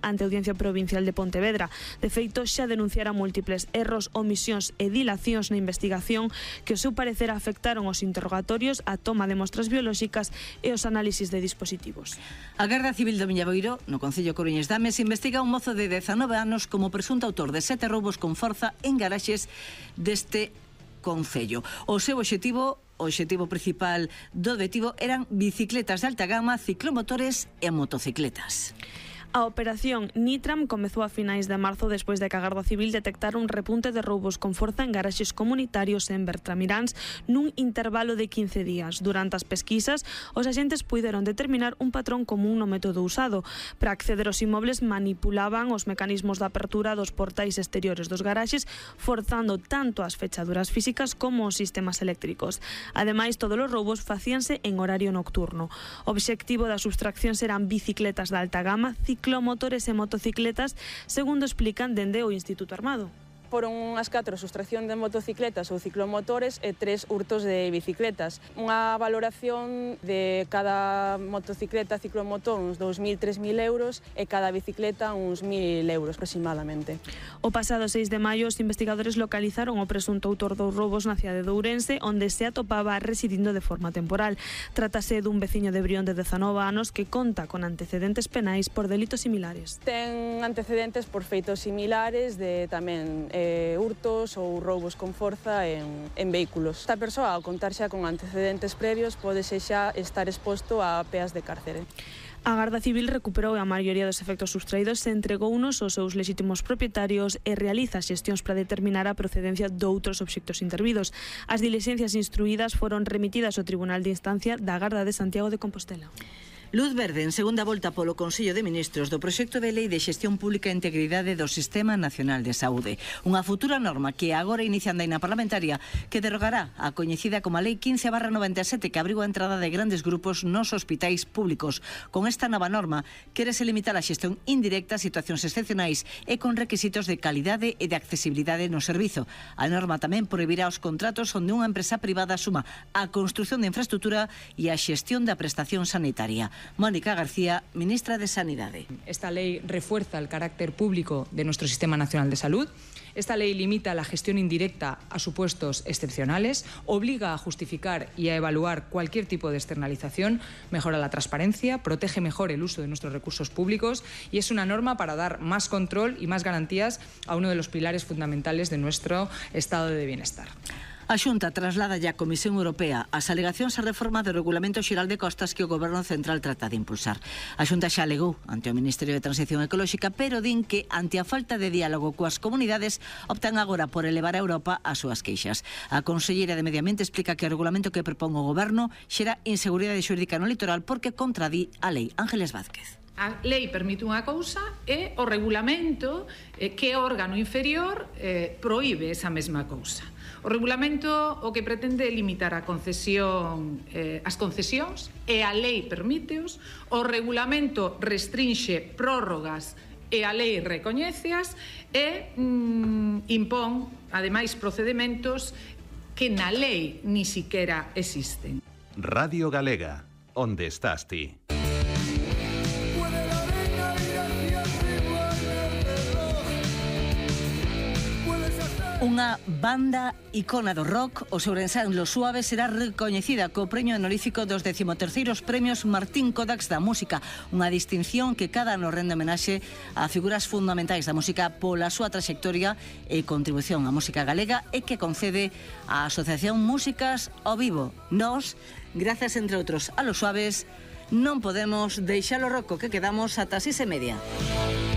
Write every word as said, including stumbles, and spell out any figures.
ante a Audiencia Provincial de Pontevedra. De feito, xa denunciara múltiples erros, omisións e dilacións na investigación que, ao seu parecer, afectaron os interrogatorios, a toma de mostras biolóxicas e os análisis de dispositivos. A Garda Civil do Miñaboiro, no Concello Coruñés Dames, investiga un mozo de dezanove anos como presunto autor de sete roubos con forza en garaxes deste concello. O seu obxectivo O obxectivo principal do detivo eran bicicletas de alta gama, ciclomotores e motocicletas. A operación Nitram comezou a finais de marzo despois de que a Garda Civil detectara un repunte de roubos con forza en garaxes comunitarios en Bertramiráns nun intervalo de quince días. Durante as pesquisas, os axentes puideron determinar un patrón común no método usado. Para acceder aos inmobles manipulaban os mecanismos de apertura dos portais exteriores dos garaxes, forzando tanto as fechaduras físicas como os sistemas eléctricos. Ademais, todos os roubos facíanse en horario nocturno. O obxectivo das subtraccións eran bicicletas de alta gama, ciclomotores e motocicletas, segundo explican dende o Instituto Armado. Foron unhas catro sustracción de motocicletas ou ciclomotores e tres hurtos de bicicletas. Unha valoración de cada motocicleta, ciclomotor, uns dous mil, tres mil euros e cada bicicleta uns mil euros aproximadamente. O pasado seis de maio, os investigadores localizaron o presunto autor dos roubos na cidade de Ourense, onde se atopaba residindo de forma temporal. Trátase dun veciño de Brión de dezanove anos que conta con antecedentes penais por delitos similares. Ten antecedentes por feitos similares de tamén Eh, hurtos ou roubos con forza en, en vehículos. Esta persoa, ao contar xa con antecedentes previos, pode xa estar exposto a peas de cárcere. A Garda Civil recuperou a maioría dos efectos sustraídos e entregounos aos seus lexítimos propietarios e realiza xestións para determinar a procedencia doutros obxectos intervidos. As diligencias instruídas foron remitidas ao Tribunal de Instancia da Garda de Santiago de Compostela. Luz verde en segunda volta polo Consello de Ministros do proxecto de lei de xestión pública e integridade do Sistema Nacional de Saúde. Unha futura norma que agora inicia a andaina parlamentaria que derogará a coñecida como a Lei quince barra noventa e sete que abriu a entrada de grandes grupos nos hospitais públicos. Con esta nova norma quérese limitar a xestión indirecta a situacións excepcionais e con requisitos de calidade e de accesibilidade no servizo. A norma tamén prohibirá os contratos onde unha empresa privada asuma a construción de infraestructura e a xestión da prestación sanitaria. Mónica García, ministra de Sanidade. Esta ley refuerza el carácter público de nuestro Sistema Nacional de Salud. Esta ley limita la gestión indirecta a supuestos excepcionales, obliga a justificar y a evaluar cualquier tipo de externalización, mejora la transparencia, protege mejor el uso de nuestros recursos públicos y es una norma para dar más control y más garantías a uno de los pilares fundamentales de nuestro estado de bienestar. A Xunta traslada ya a Comisión Europea as alegacións á reforma do Regulamento Xeral de Costas que o Goberno Central trata de impulsar. A Xunta xa alegou ante o Ministerio de Transición Ecolóxica, pero din que, ante a falta de diálogo coas comunidades, optan agora por elevar a Europa as súas queixas. A conselleira de Medio Ambiente explica que o regulamento que propón o Goberno xera inseguridade xurídica no litoral porque contradí a lei. Ángeles Vázquez. A lei permite unha cousa e o regulamento, eh, que é órgano inferior, eh, proíbe esa mesma cousa. O regulamento o que pretende é limitar a concesión, eh, as concesións e a lei permíteos, o regulamento restrinxe prórrogas e a lei recoñéceas e mm, impón, ademais, procedimentos que na lei ni siquiera existen. Radio Galega, onde estás ti? Unha banda icona do rock, os ourensán Los Suaves, será recoñecida co premio honorífico dos decimoterceiros premios Martín Kodaks da Música, unha distinción que cada ano rende homenaxe a figuras fundamentais da música pola súa traxectoria e contribución á música galega e que concede a Asociación Músicas ao Vivo. Nos, grazas entre outros a Los Suaves, non podemos deixar o roco que quedamos ata as seis e media.